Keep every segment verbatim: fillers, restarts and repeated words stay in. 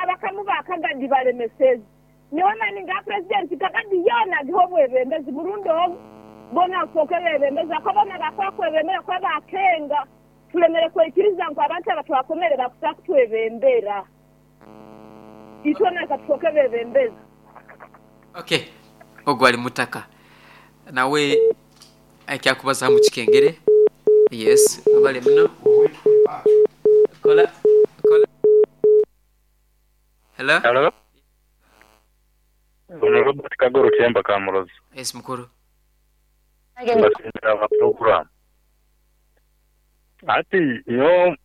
Abakamu ba Kagadi balemeseze. Nyowe maninga president Kagadi yona giho bwebembezi murundi ogu bona foke bebembezi akabona bakwakwebembera kwa bakenga tulemere kwekiriza ngo abantu abatwakomere bakusa kutwebembera itona katufoke bebembezi. Okay, ogwo ali mutaka nawe akyakubaza mu kikengere. Yes, abale muno kola kola. Hello. Hello. Ono Robert Kagoro Kyemba Kamurozi. Yes, mukuru. Mbasindira program. Ati yo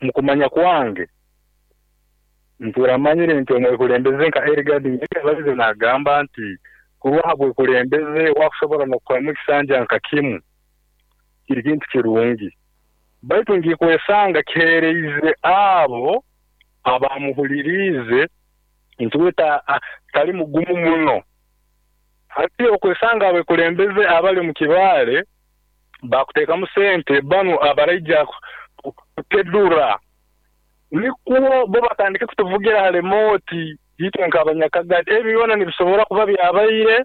mukumanya kwange nturamanyire nti omwekulembeze nka Erigadi yabalize nagamba nti kuba bwekulembeze wakusobola n'okukwamu ekisanja nka kimu kiri kintu kirungi, baitu ngikwesanga kiheereize abo abamuhuliriize nti we tali mugumu muno. Hati okwesanga abekulembeze abali mu Kibaale bakuteekamu sente banu abaraija kutedura nikwo bo batandike kutuvugira ha remote itwe nk'abanyakagadi. Ebi byona nibisobora kuba byabaire.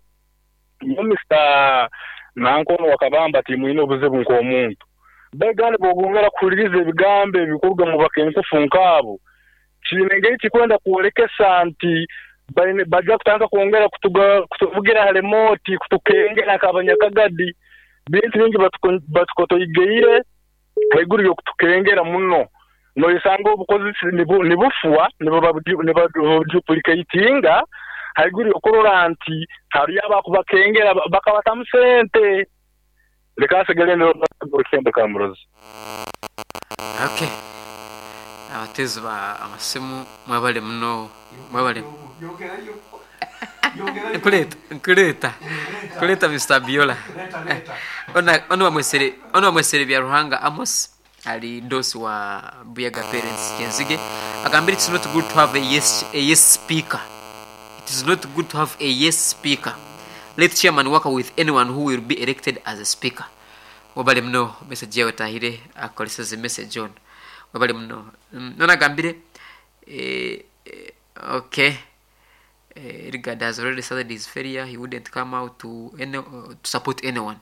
Yo Mister Nankono wakabamba ti mwine obuzibu nk'omuntu begane bogongera kuhuliriza ebigambo ebikuruga mu bakenkufu nk'abo kiine engeri kikwenda kwolekesa nti bajja kutandika kwongera kutuvugira ha remote kutukengera nk'abanyakagadi. Bintu bingi batukotoigeire haiguru y'okutukengera muno noisanga obukozi nibufwa nibaduplicatinga haiguru y'okurora nti hariyo abakubakengera bakabatamu sente. Leka asigale n'Orukembe Kamurozi. Okay, abatezi ba amasimu mwebale muno, mwebale. Nkuleta nkuleta nkuleta Mister Biola. Ona ono wamwesere ono wamwesere bya Ruhanga Amos ali dosi wa Buyaga Parents Kenzige agambira it's not good to have a yes a yes speaker. It is not good to have a yes speaker. Let chairman work with anyone who will be elected as a speaker. Wabale mno message yawe tahire akoleseze message on. Wabale mno nona gambire eh, eh, okay. Eh, Rigard has already started his failure. He wouldn't come out to any, uh, to support anyone.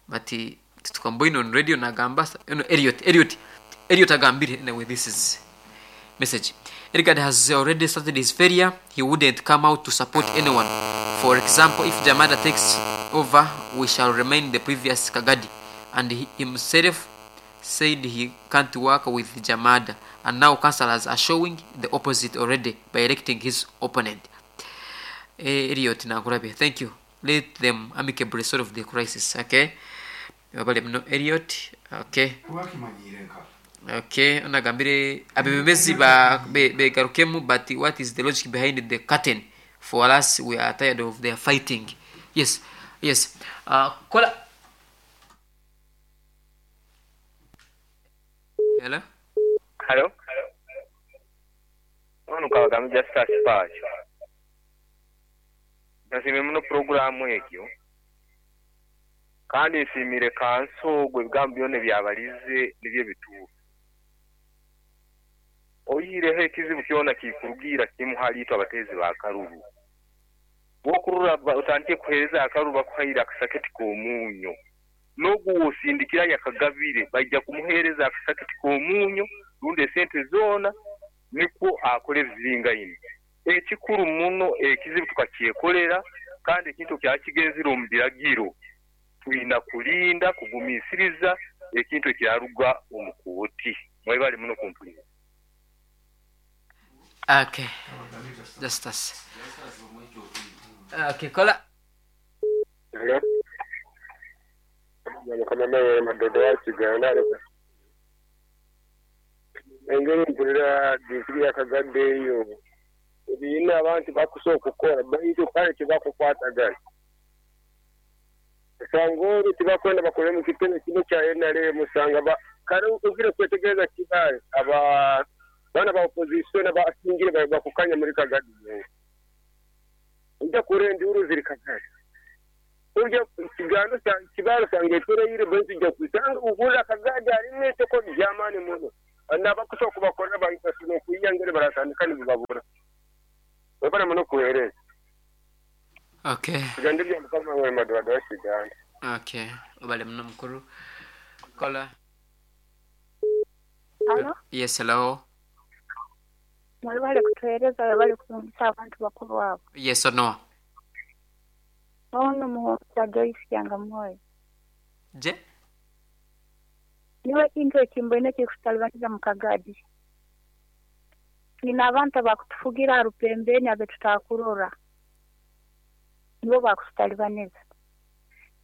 But he tukamboino on radio na gamba no, Elliot Elliot Elliot agambire. Anyway, this is message. Rigard has already started his failure. He wouldn't come out to support anyone. For example, if Jamada takes over, we shall remain the previous Kagadi. And he himself said he can't work with Jamada. And now councillors are showing the opposite already by electing his opponent. Eh, Elliot Nagurabe, thank you. Let them amicably solve the crisis. Okay. Elliot, okay. Okay, onagambire abebembezi ba begarukemu, but what is the logic behind the curtain? For us, we are tired of their fighting. Yes, yes. Uh, kola. Hello? Hello? Ono kawagami Justus Pacho. Nasiime muno programu egyo. Kandi nsiimire kanso gwe ebigambo byona byabalize nibyo bituufu. Oyireho ekizibu kyona kikurugira kimu hali itwe abateezi ba karuru. Bw'okurura otandike kuheereza akaruru bakuhaire akasaketi k'omuunyo. N'ogu osindikira yakagabire bajja kumuheereza akasaketi k'omuunyo rundi esente zoona nikwo akora ebiziringaine. Ekikuru muno ekizibu tukakyekolera kandi ekintu kyakigenzire omu biragiro. Twina kulinda kugumisiriza ekintu ekyaruga omu kooti. Mwebale muno kumpulira. Okay. Justus. Okay, kola. Hello. Mukama mawe madodo wa Kiganda. Engeri mpulira disiri y'akagadde eyo. Ebiyina abantu bakusooka okukola baitu kale tebakukwatagana. Osanga olwo tebakwenda bakole mu kitebe kino kya N R M osanga kale ogire kwetegereza Kibaale aba bana ba opposition abasingire bakukanya muri Kagadi. Ujya kurenda enduru ziri Kagadi. Ujya Kiganda Kibaale osanga etureire baitu ujya kusanga uhura Kagadi harimu etoko ry'amaani muno. Nabakusooka kubakorera bahita okuyangere baratandika nibababura. Webale muno kuweereza. Okay. Tugende bya mukama we madwado wa Uganda. Okay, obale muno mukuru. Kola. Halo? Yes, hello. Mwebale kutuweereza, webale kulungisa abantu bakulu abo. Yes or no? Ono muhonza Joyce Yangamoyo. Je? Niwe kintu ekimbwine kikutalibaniza mu Kagadi. Nina abantu abakutufugira rupembeni abe tutakurora. Nibo bakututalibaniza.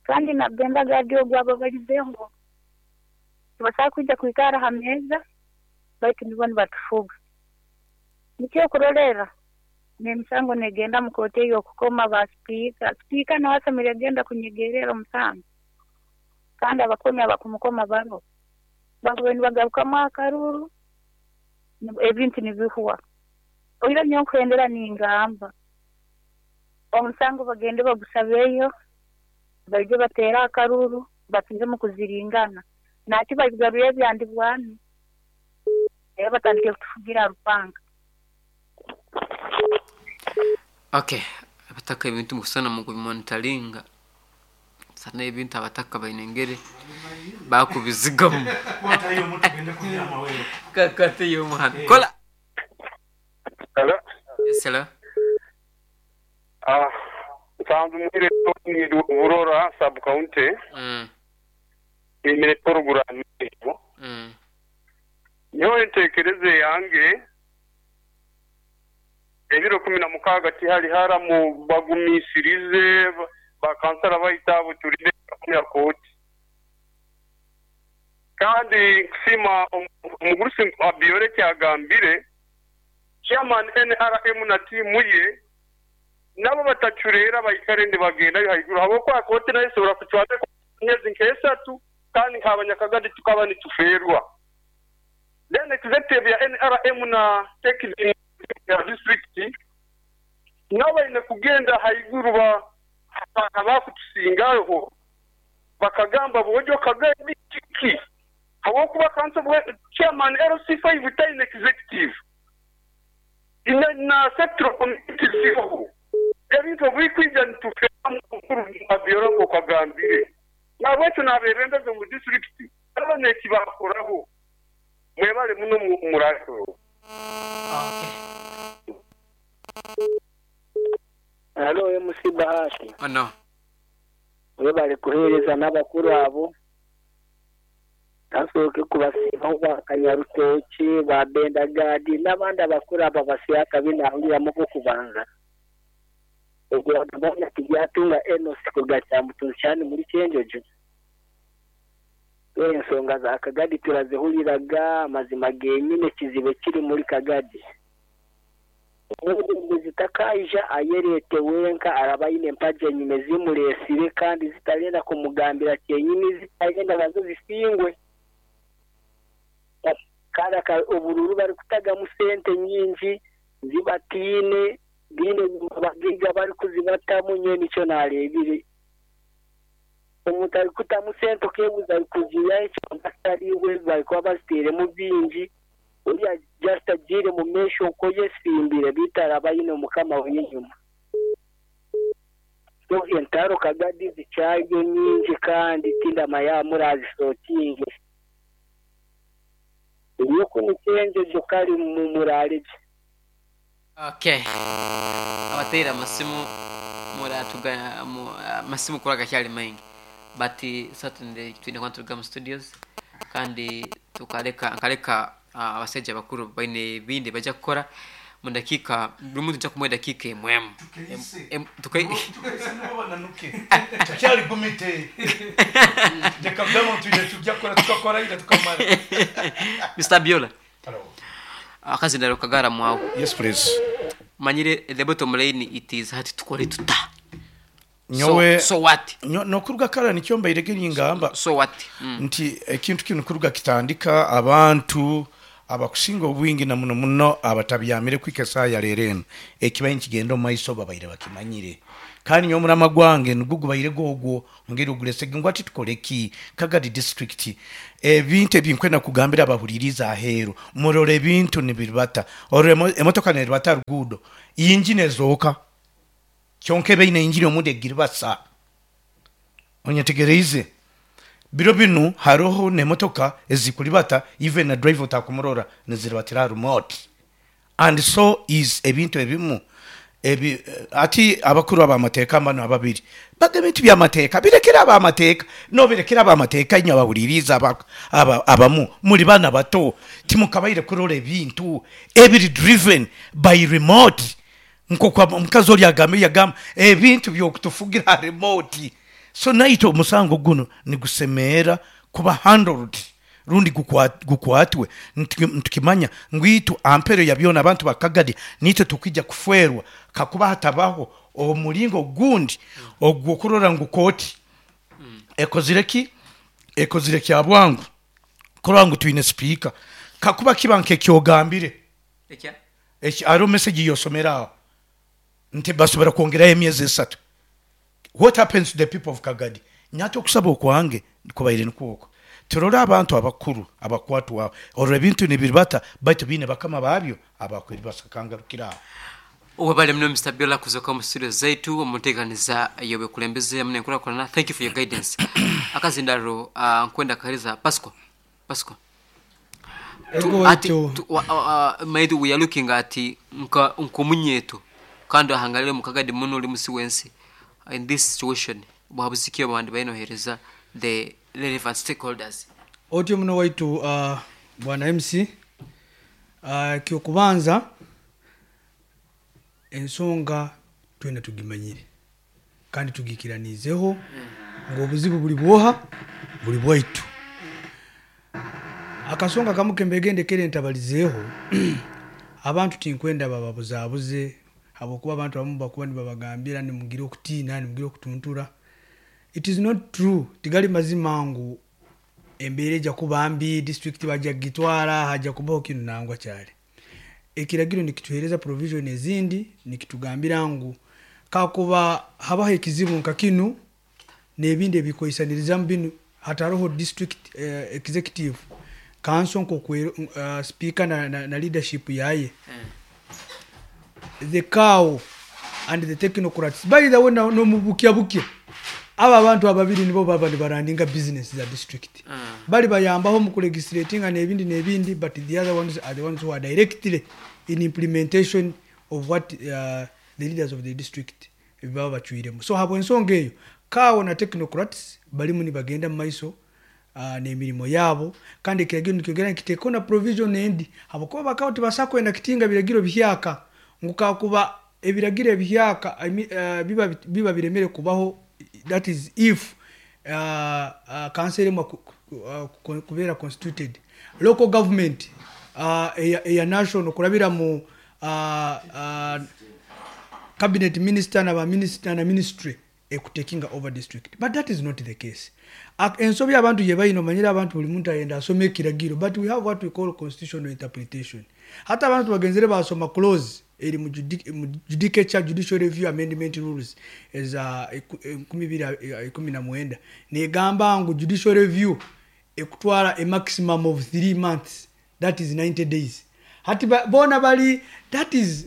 Kandi nagenda gadi ogwo abo balizeho. Tibasaba kwija kwikara ha meza baitu nibo nibatufuga. Nikyo kurolera n'emisango negenda mu kooti ey'okukoma ba sipiika. Sipiika nawe asemeriire agenda kunyegerera omusango. Kandi abakomi abakumukoma baro bakube nibagarukamu akaruru ebintu nibihwa. Oira nyowe nkuhendera ningamba omusango bagende bagusabeyo baije bateera akaruru batizemu kuziringana naki babigaruye ebyandi bwami era batandike kutufugira rupanga. Okay, abataka ebintu mukusana mu kubimonitoringa sana ebintu abataka bainengere bakubizigamu. Kakate yo muhana. Kola. Hello. Yes, hello. Ah, nsanzu mwire ni Burora sub county. Mm. Imire program eyo. Mm. Nyowe ntekereze yange ebiro kumi na mukaaga tihali haramu bagumisirize bakansala bayita butulire ya kooti. Kandi nkusima omugurusi Abiore kyagambire chairman N R M na tiimu ye nabo batacurera bayikare ndibagenda haiguru habwokuba kooti nayo esobora kucwata myezi nk'esatu kandi nk'abanyakagadi tukaba nituferwa. Then executive ya N R M na technical ya district nabo baine kugenda haiguru ba abakutusingaho bakagamba bojo kagadi kiki habwokuba kanso chairman L C five taine executive ina na sector committee ziho ebintu bikwija nitufera mukuru Abiore kagambire nabwetu nabebembeze mu district aba nekibakoraho mwebale muno murako. Okay. Hello M C Bahati. Oh no. Webale kuhereza n'abakuru abo. Tasoke kubasiba bakanyarutoki ba Bendagadi n'abandi abakuru aba basiyaka binahurira mu kubanza. Ogwo ndabona kijatunga Enos kugacha mutunshani muri Cyenjojo. We ensonga za Kagadi turazihuriraga amazima genyine kizibe kiri muri Kagadi. Omuguzi takaija ayerete wenka arabayine empaje nyine zimuresire kandi zitarenda kumugambira kyenyini zitagenda nazo zisingwe. Kandi obururu bari kutagamu sente nyingi zibatine bine bagiga bari kuzibatamu nye nicyo narebire. Omuntu ari kutamu sente okebuza ari kugira icyo atariwe bari kuba baziteremu bingi uriya just agire mu mesho uko yesimbire bitarabayine mukama w'inyuma. So entaro Kagadi zicaye nyingi kandi tinda maya murazisotinge. Yuko nicenje jokari mu muraleje. Okay. Abatera amasimu muratuga amasimu kuraga cyari maingi. But certainly twine kwa mu studios kandi tukareka nkareka abasajja bakuru baine bindi bajya gukora mu dakika buri muntu nja kumuha dakika emwe tukaise nibo bananuke cyari gumite reka byamo tujye tujya kora tukakora ira tukamara. Mister Biola. Hello. Akazindaro kagara mwawo. Yes please. Manyire the bottom line it is hati tukore tuta. Nyowe so, so what? No kuruga kara nicyo mbairege nyingamba. So what? Mm. Nti ekintu kinu kuruga kitandika abantu Abakusinga obwingi na muno muno abatabyamire kwika esaaha ya leero eno, ekibaire nikigenda omu maiso babaire bakimanyire. Kandi nyowe omurama gwange nigwo gubaire gwogwo ngeri ogulesege ngu ati tukore ki Kagadi district. Ebintu ebinkwenda kugambira abahuririza aheeru, murore ebintu nibiribata, orora emotoka neribata ruguudo, injini ezooka kyonka eba eine injini omundi egiribasa. Onyetegereize? Biro binu haroho n'emotoka ezikuribata, even na driver otakumurora, niziribatira remote. And so is ebintu ebimu ebi ati abakuru abamateeka bano ababiri baga ebintu byamateeka birekere abamateeka, nobirekera abamateeka. Inywe abahuririza aba, aba, abamu muri bana bato, timukabaire kurora ebintu ebiri driven by remote. Nkoku omukazi oli agambe, yagamba ebintu byokutufugira remote. So naitwe omusango guno nigusemeera kuba handled rundi gukwatwe, ntukimanya ngu itwe ampero ya byona abantu bakagadi nitwe tukijja kufwerwa kakuba hatabaho omulingo gundi ogwokurora ngu kooti ekozire ki, ekozire kya bwangu kurora ngu twine sipiika. Kakuba kiba nkekyogambire hariho message yosomera aho nti basobora kwongerayo emyezi esatu, what happens to the people of Kagadi? Nyate okusaba okwange kubaire nikwoko, turore abantu abakuru abakwatwaho, orora ebintu nibiribata baitu biine bakama babyo abakweribasakangarukira aho. Webale muno Mister Biola kuzoka mu studio zaitu omuteekaniza yobekulembeze muno enkulakulana. Thank you for your guidance. Akazindaro uh, nkwenda kahereza Pasco. Pasco. Ego. Ati, waitu. tu, wa, uh, maitu we are looking at nka nkomunyeto kandi ahangalire mukagadi muno oli musi wensi. In this situation bwabuzikiyo abandi bainohereza the relevant stakeholders. Otyo muno waitu, uh, bwana M C, uh, kyokubanza ensonga twena tugimanyire kandi tugikiranizeho ngu obuzibu buli bwoha buli bwaitu. Akasonga kamu kembegendekere ntabalizeeho abantu, tinkwenda bababuzabuze, habwokuba abantu abamu bakuba nibabagambira nimugire okutiina, nimugire okutuntura. It is not true, tigali mazima ngu embeera ejja kuba mbi, district bajja kugitwara, hajja kubaho kinu. Nangwa kyali ekiragiro nikituhereza provision ezindi, nikitugambira ngu kakuba habaho ekizibu nka kinu n'ebindi ebikwoisanirizamu binu, hataroho district eh, executive council nkokwe uh, speaker na, na, na leadership yaye, the C A O and the technocrats. By the way, no nomubukya bukya aba abantu ababiri nibo baba nibarandinga business za district. Bali bayambaho mu kulegislatinga n'ebindi n'ebindi, but the other ones are the ones who are directly in implementation of what uh, the leaders of the district baba bacwiremu. So habwa ensonga eyo, C A O na technocrats balimu nibagenda mu maiso uh, n'emirimo yaabo. Kandi ekiragiro nikyongera nikiteekaho na provision endi, habwokuba bakaba tibasa kwenda kitinga biragiro bihyaka, ngu kakuba ebiragiro ebihyaka, I mean, uh, biba, biba biremere kubaho, that is if uh, uh, council emwe ku- ku- uh, ku- kubeera constituted, local government uh, eya, eya national kurabira mu uh, uh, cabinet minister na ba minister na ministry ekutakinga over district. But that is not the case. Ak- ensobi abantu gye balina, omanyire abantu buli muntu ayenda asoma ekiragiro, but we have what we call constitutional interpretation. Hata abantu bagenzere basoma clause eri mu judi- mu judicature Judicial Review Amendment Rules eza eku- enkumi bibiri eh, ikumi na mwenda, negamba ngu judicial review ekutwara a maximum of three months, that is ninety days. Hati ba- bona bali that is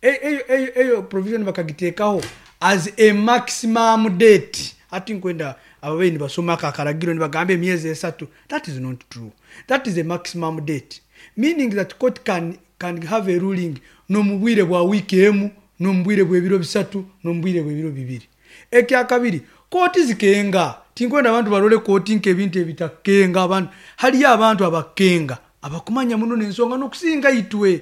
eyo eyo eyo provision bakagiteekaho as a maximum date. Ati nkwenda ababeyi nibasoma akaragiro nibagamba emyezi esatu. That is not true. That is a maximum date, meaning that court can, can have a ruling n'omu bwire bwa wiiki emu, n'omu bwire bw'ebiro bisatu, n'omu bwire bw'ebiro bibiri. Ekyakabiri, kooti zikenga. Tinkwenda abantu barole kooti nk'ebintu ebitakenga. Abantu haliyo abantu abakenga abakumanya muno n'ensonga n'okusinga itwe,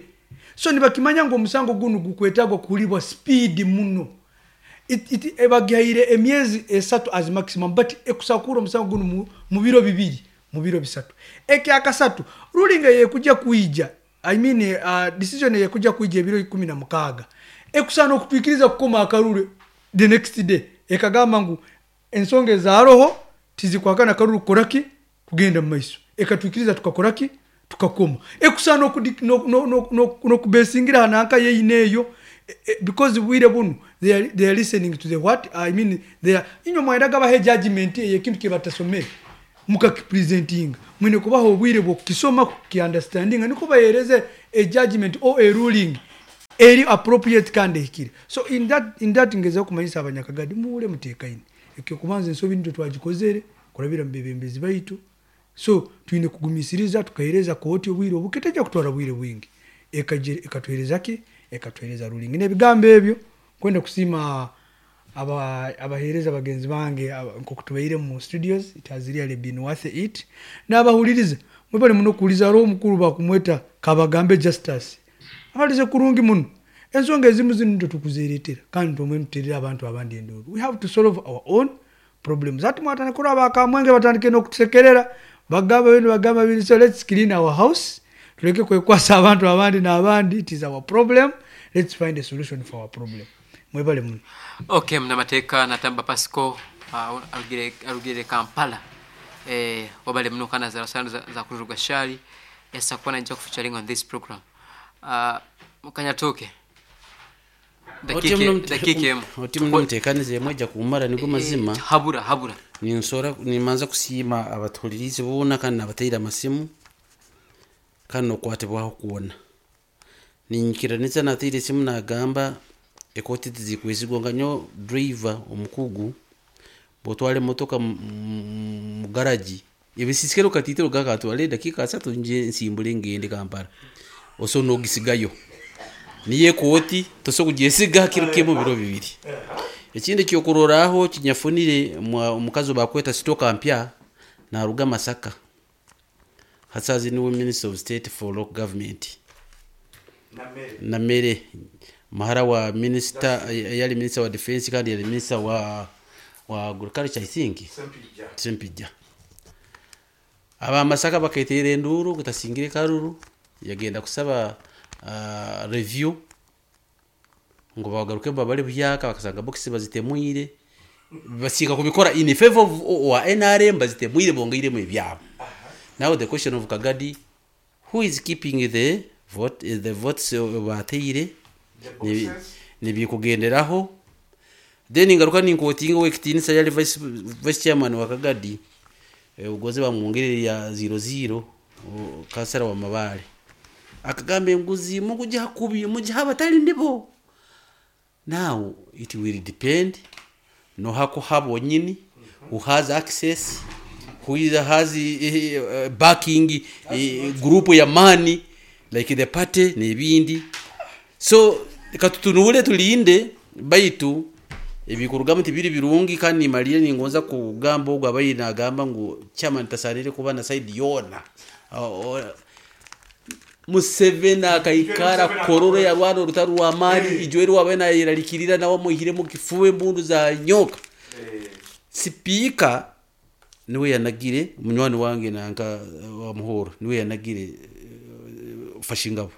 so nibakimanya ngu omusango gunu gukwetagwa kuhulibwa speed muno. It- it- ebagaire emyezi esatu as maximum, but ekusakura omusango guno mu, mu biro bibiri, mu biro bisatu. Ekyakasatu, ruling yekujja kwija, I mean, uh, decision yekujja kwija ebiro ikumi na mukaaga, ekusaana okutwikiriza kukoma akaruru the next day, ekagamba ngu ensonga ezaroho tizikwakana akaruru kukoraki kugenda mu maiso, ekatwikiriza tukakoraki. Tukakoma ekusa nokubesingira hananka yeine eyo, because bwire bunu they are, they are listening to the what I mean they are inyo mwendaga bahe judgment ekintu kibatasomere mukakipresentinga, mwine kubaho obwire bwokukisoma, kukiunderstandinga, niko bahereze a judgment or a ruling eri appropriate kandi ehikire. So in that in that ngeza kumanyisa abanyakagadi muule mutekaine ekyo kubanza ensobi nitwe twagikozere kurabira mu bebembezi baitu. So twine kugumisiriza tukahereza kooti obwire obuketeja kutwara bwire bwingi ekatuhereza ki ekatuhereza ruling. N'ebigambo ebyo kwenda kusima aba abahereza bagenzi bange nkokutubaire mu studios, it has really been worth it. N'abahuliriza mwebale muno kuuliza roho mukuru bakumweta Kabagambe Justice abalize kurungi muno ensonga ezimu zino nitwe tukuzireetera kandi tumwe muterera abantu abandi enduru. We have to solve our own problems. Ati mwatane kuri abakamwenge batandike no kutusekerera bagamba bino bagamba bino. So let's clean our house, tuleke kwekwasa abantu abandi n'abandi. It is our problem, let's find a solution for our problem. Mwebale muno. Okay, mnamateeka Natamba Pasco uh, arugire arugire Kampala, eh wabale muno kana za rasano za, za kuruga shali yasa kuona nja featuring on this program. Uh, mukanyatoke dakike dakike emu oti muno mutekanize mweja kumara nigo mazima. Eh, habura habura ninsora nimanza kusiima abatulirizi bona kandi nabateira amasimu kandi nokwatibwaho kuona ninyikiranisa nateire esimu nagamba ekoti tizikwesigwa nga nyo driver omukugu botwala emotoka mu garagi ebisisikero katitiro gakatwale dakika asatu nje nsimbule ngende Kampala oso nogisigayo niye koti toso kujesiga kiro kimu biro bibiri. Ekindi kyokuroraho kinyafunire omukazi bakweta sitoka mpya naruga Masaka hasazi niwe Minister of State for Local Government Namere mahara wa minister yali minister wa defense kandi yali minister wa wa agriculture I think Sempija Sempija aba Masaka baketere enduru kutasingire karuru yagenda kusaba uh, review ngo bagaruke babale buyaka bakasanga box bazitemwire basika kubikora in favor of wa N R M bazitemwire bongeire mu byabo. Now the question of Kagadi, who is keeping the vote the votes bateire nibikugenderaho. Then ngaruka ninkotinga wekitinisa yali vice vice chairman wa Kagadi e, ugoze bamwongerere ya zero zero kasara wa mabale akagambe nguzi mukuja kubi muja abatali ndibo. Now it will depend no hako habo nyini who has access, who is has uh, backing uh, group ya money like the party nebindi. So katutunule tulinde baitu ebikurugamu tibiri birungi kandi malire ningonza kugamba ogwa bayina agamba ngu chairman tasanire kuba na side yona. Uh, Museveni akaikara kororo ya rwano rutaru wa mali ijweri wabena iralikirira nawo muhire mu kifuwe mbundu za nyoka. Sipika niwe yanagire munywani wange nanka wa muhoro niwe yanagire uh, fashingabo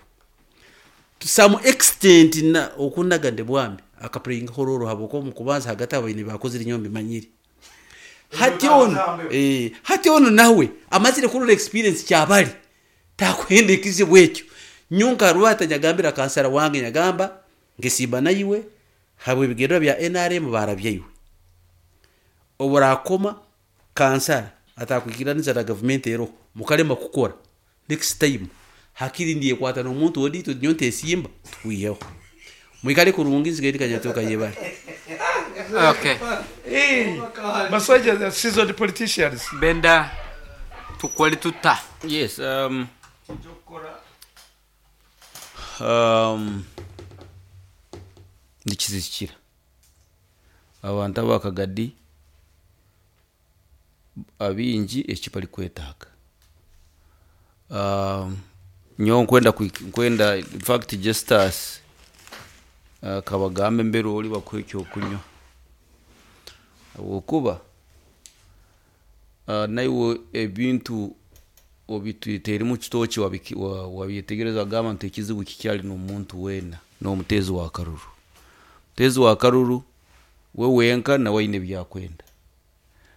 to some extent na okunaga ndebwambi akaplaying hororo haboko mukubanza hagati abayini bakoze inyombi manyiri hati ono eh hati ono nawe amazire kurora experience cyabali takwende kizibu ekyo nyunka rwata nyagambira kansara wange nyagamba ngesimba nayiwe habwe bigero bya N R M barabyeyiwe oburakoma kansara atakwikiraniza na government ero mukalema kukora next time hakiri ndiye kwata no muntu odito nyonte simba tuyeho mwikale kurungi nzigeri kanyatoka yebale. Okay, eh masaja seasoned politicians benda tukwali tuta. Yes, um um ndikizikira abantu abakagadi abingi ekipali kwetaaga um nyo nkwenda nkwenda in fact Justus uh, Kabagambe mbere oli bakwekyo okunywa okuba uh, naiwe ebintu obitwitere mu kitoki wabyetegereza gamba nti ekizibu kikyali n'omuntu wena n'omutezi wa karuru mutezi wa karuru we wenka nawe aine byakwenda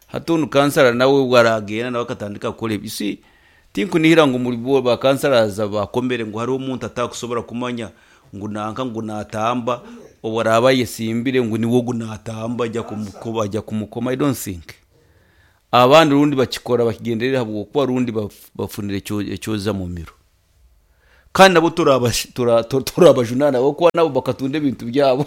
hati onu kansara nawe waragenda nawe akatandika kukora ebi. You see, Tinkunihira ngu muri bo bakansaraza bakomere ngu hariho omuntu atakusobora kumanya ngu nanka ngu natamba obaraba yesimbire ngu niwo gunatamba ajya kumukoba ajya kumukoma. I don't think abandi rundi bakikora bakigenderera habwokuba rundi bafunire ekyoza mu miro, kandi nabo turabajunana kuba nabo bakatunda ebintu byabo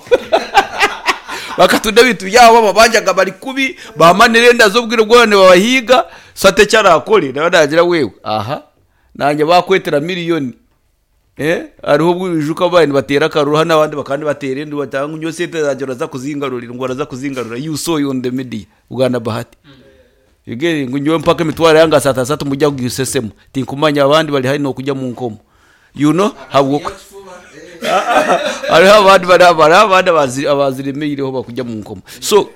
bakatunda ebintu byabo babanjaga bari kubi bamanire enda z'obwire bwone babahiga sate cyarakore nawe nagira wewe aha nanjye bakwetera miliyoni eh ariho bwijuka bandi batera karuha n'abandi bakandi batera indi batanga nyo sente zanjye uraza kuzingarurira ngo uraza kuzingarura you saw you on the media Uganda Bahati yugere ngo nyowe mpaka imitwaro yanga saa tatu mujya kugusesemo tinkumanya abandi bari hari no kujya mu nkomo you know habwo ari abandi bari abari abandi abaziremeireho bakujya mu nkomo. So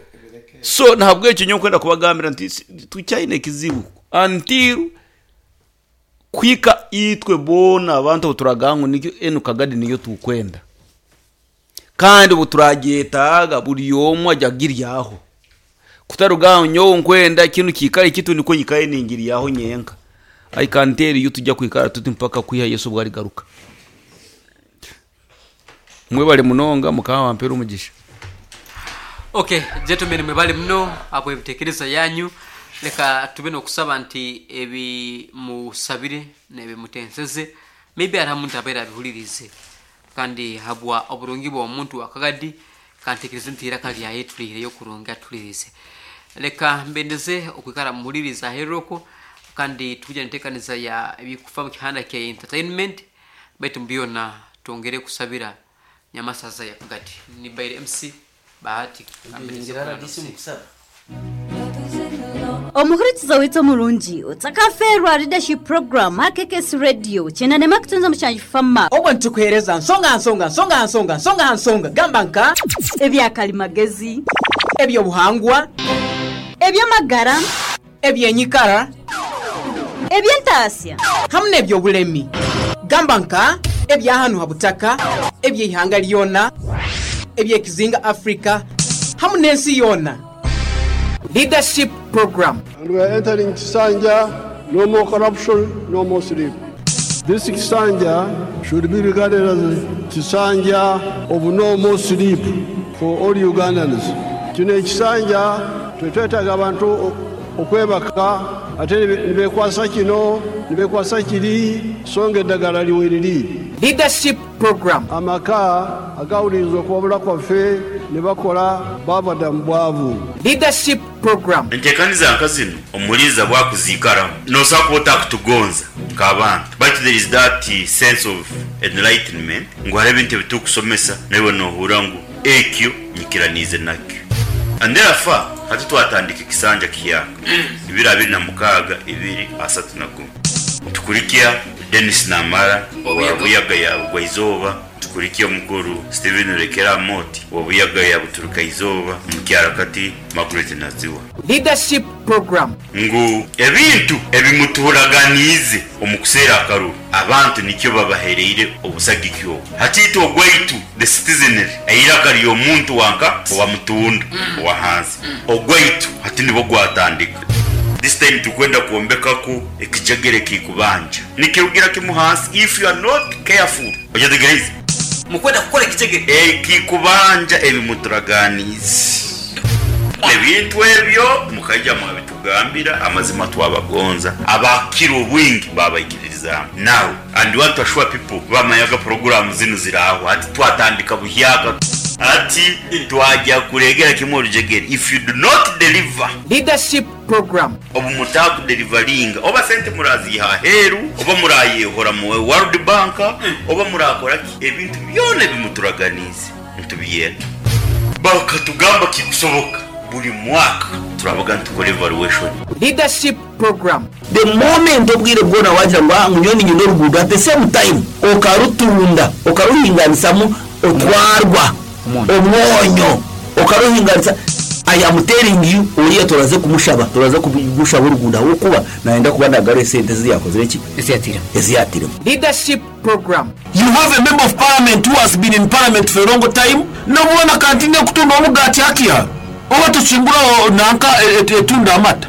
so ntabwo icyo nyo kwenda kubagambira nti tucyayine kizibu until kwika itwe bona abantu turagango nikyo enu kagadi niyo tukwenda kandi ubu turagetaga buri yomwe ajya giryaho kutarugango nyo nkwenda kintu kikare kitu niko nyikaye ningiriyaho nyenka. I can tell you tujya kwikara tuti mpaka kwiha Yesu bwari garuka mwe bali munonga mukaba wampera umugisha. Okay gentlemen, mwe bali muno abo ebitekerezo yanyu leka tube no kusaba nti ebi musabire nebe mutenseze maybe ara muntu abera bihulirize kandi habwa oburungi bwa omuntu akagadi kantekereze nti iraka lya yetu yo kurunga tulirize. Leka mbendeze okwikara muhuliriza heroko kandi tujya ntekaniza ya ebikufa mu kihanda kya entertainment baitu mbiona tuongere kusabira nyamasaza ya kagadi ni Baire M C Bahati. Omuhurikiza witso murungi utakaferwa leadership program K K S radio chenane makutunza mushanji fama obwo ntukuhereza nsonga nsonga nsonga nsonga nsonga nsonga gamba nka ebyakalimagezi ebyo buhangwa ebyamagara ebyenyikara ebyentasya hamwe n'ebyobulemi gamba nka ebyahanu habutaka ebyihanga lyona ebyekizinga Africa hamwe n'ensi yona. Leadership program. And we are entering Kisanja, no more corruption, no more sleep. This Kisanja should be regarded as Kisanja of no more sleep for all Ugandans. Kino Kisanja twetaaga abantu okwebaka ate nibekwasa kino nibekwasa kiri songa eddagala liweriri. Leadership program. Amaka agawuliriza okuwabula kwaffe ne bakola bava mu bwavu. Leadership program. Enteekaniza nka zino omuliza bwakuziikaramu nosobola kuba otakutugonza nk'abantu but there is that sense of enlightenment ngu hariho ebintu ebitukusomesa naiwe nohura ngu ekyo nyikiraniize nakyo. And therefore hati twatandika ekisanja kiyaka ibiri abiri na mukaaga ibiri asatu na gumu tukurikia Dennis Namara wa Buyaga ya Bugwaizooba, tukurikia mukuru Steven Rekera Moti wa Buyaga ya Buturuka Izooba, mukyarakati Margaret Naziwa. Leadership program. Ngu ebintu ebimuturaganize omukuseera akaruru abantu nikyo babahereire obusagikyo hatito ogwaitu the citizenry eiraka ly'omuntu wanka owa mutunda owa hansi ogwaitu hati nibo gwatandika. This time tukwenda kuombekaku ekijegere kikubanja nikirugira kimuhansi if you are not careful ojategereza mukwenda kukora ekijegere ekikubanja ebimuturaganize ebintu ebyo mukajja mwabitugambira amazima twabagonza abakira obwingi babaikiriza now and want to assure people bamayaga program zino ziraho ati twatandika buhyaka ati twajya kuregera kimwe orujegere if you do not deliver. Leadership program. Obu mutaku deliveringa oba sente muraziha heru oba murayehora mu World Bank oba murakora ebintu byone bimuturaganize ntubiyenda bakatugamba kikusoboka buri mwaka turabaga ntukore evaluation. Leadership program. The moment obwire bwona wagira ngo ngunyoni nyino rugudo at the same time okarutunda okaruhinganisamu otwarwa omwonyo okaruhinganisa. I am telling you uriya turaze kumushaba turaze kugushaba urugunda wokuba naenda kuba ndagare sente ziyakoze iki eziyatira eziyatira. Leadership program. You have a member of parliament who has been in parliament for a long time nobona kantine kutunda omugati hakia oba tusimbura nanka etunda amata.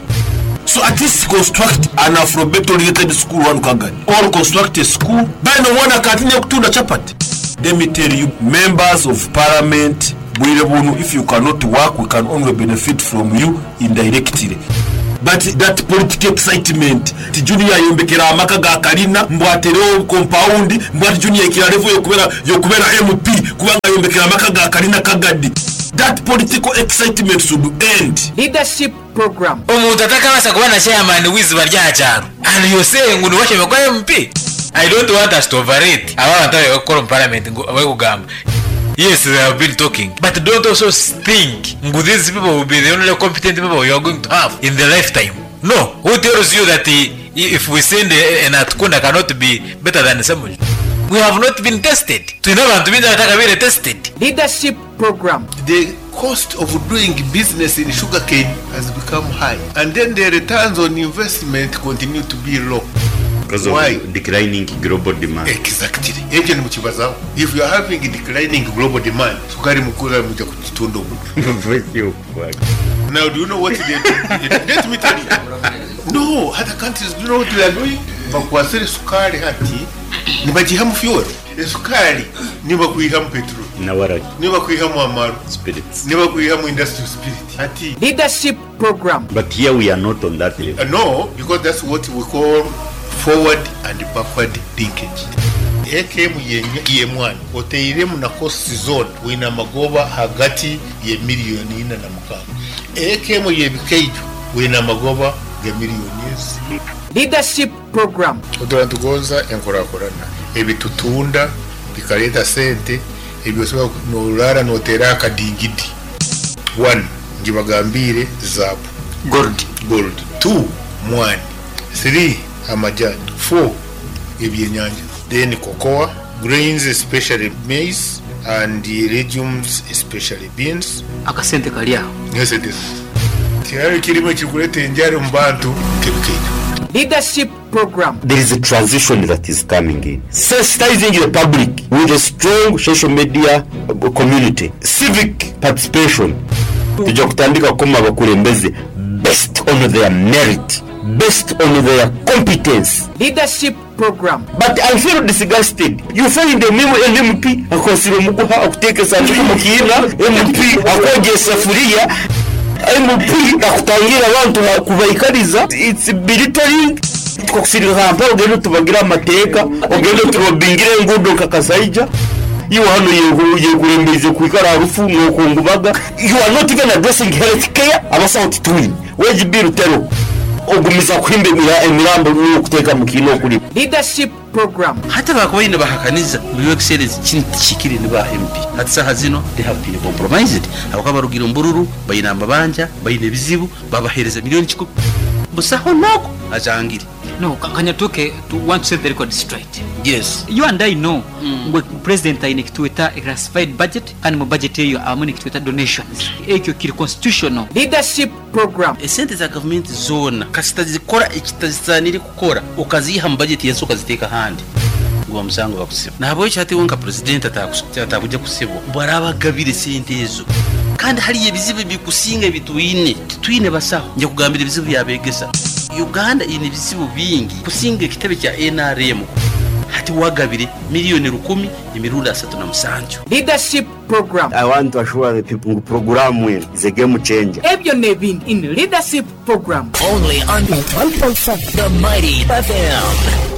So at least construct an Afrobeat oriented school one Kagadi. Or construct a school. Bano wana katine kutunda chapati. Let me tell you, members of parliament, if you cannot work, we can only benefit from you indirectly. But that political excitement, ti junior yombekera amaka ga kalina, mbwatereo compound, mbwati junior ikira level yokubera yokubera M P, kubanga yombekera amaka ga kalina Kagadi. That political excitement should end. Leadership program. Omuntu atakabasa kuba na chairman wiziba rya cyaro. And you say ngo nuwashe kwa M P. I don't want us to overrate. Aba bantu bakora mu parliament ngo abagugamba. Yes, they have been talking, but don't also think these people will be the only competent people you are going to have in their lifetime. No, who tells you that if we send an Atkunda cannot be better than someone? We have not been tested. To know to be tested. Leadership program. The cost of doing business in sugarcane has become high, and then the returns on investment continue to be low. Because of Why? Declining global demand. Exactly. If you are having declining global demand, sukari mukura muja kuchitundo. Now, do you know what they do? Let me tell you. No, other countries, do you know what they are doing? Bakwasere sukari hati, nibajihamu fuel. Sukari, nibakuihamu petrol. Nawara. Nibakuihamu amaru. Spirits. Nibakuihamu industrial spirit. Hati. Leadership program. But here we are not on that level. Uh, no, because that's what we call forward and backward linkage. A K M ye mwana oteiremu na cost zone wina magoba hagati ye miliyoni ina na mukaga. A K M ye bikeijo wina magoba ge miliyoni ezi. Leadership program. Oturantugonza enkorakorana ebitutunda bikaleta sente ebyosobola norara notera akadingidi. One, njibagambire zabu gold gold. Two, mwani. Three, amajani. Four, ebyenyanja. Then cocoa, grains especially maize, and the legumes especially beans. Akasente kali aho. Yes, it is. Tiyari kirimo kikuleta enjara mu bantu kebikeyo. Leadership program. There is a transition that is coming in. Sensitizing the public with a strong social media community. Civic participation. Tujja kutandika kukoma abakulembeze based on their merit, based on their competence. Leadership program. But I feel disgusted. You find a memo an M P akosira omuguha akuteeka esanduku mu kiina, M P akwogya esafuriya, M P akutangira abantu kubaikariza. It's belittling. Tukakusirika Kampala ogende tubagire amateeka, ogende turobingire enguudo nka Kasaija. You hano yekurembeze kwikara harufu n'okungubaga. You are not even addressing health care. Abasawo tituli. Wage bill tero. Ogumiza kuhimba emirambo n'okuteeka mu kiina okuli. Leadership program. Hata bakubaine bahakaniza mu excellence kintu ni ba M P. Hati saha zino they have been compromised. Abakaba barugira mbururu bayina amabanja bayina ebizibu babahereza miliyoni kikumi. Busaho nako ajangire. No, Kanyatuke, to want to set the record straight. Yes. You and I know mm. Ngwe president aine kituweta classified budget kandi mu budget eyo abamu kituweta donations. Ekyo kiri constitutional. Leadership program. Esente za government zona kasita zikora ekitazisanire kukora okaziha mu budget yenso okaziteeka handi. Gwa musango bakusiba. Nabo ekyo wonka president atakuja kusibwa. Barabagabire sente ezo. Kandi hali ebizibu bikusinga ebitwine. Tutwine basaho. Nje kugambira ebizibu byabegesa. Uganda ine ebizibu bingi kusinga ekitebe kya N R M hati wagabire miliyoni rukumi emirundi asatu na musanju. Leadership program. I want to assure the people program is a game changer. Ebyo nebindi in leadership program. Only on one point seven The Mighty F M.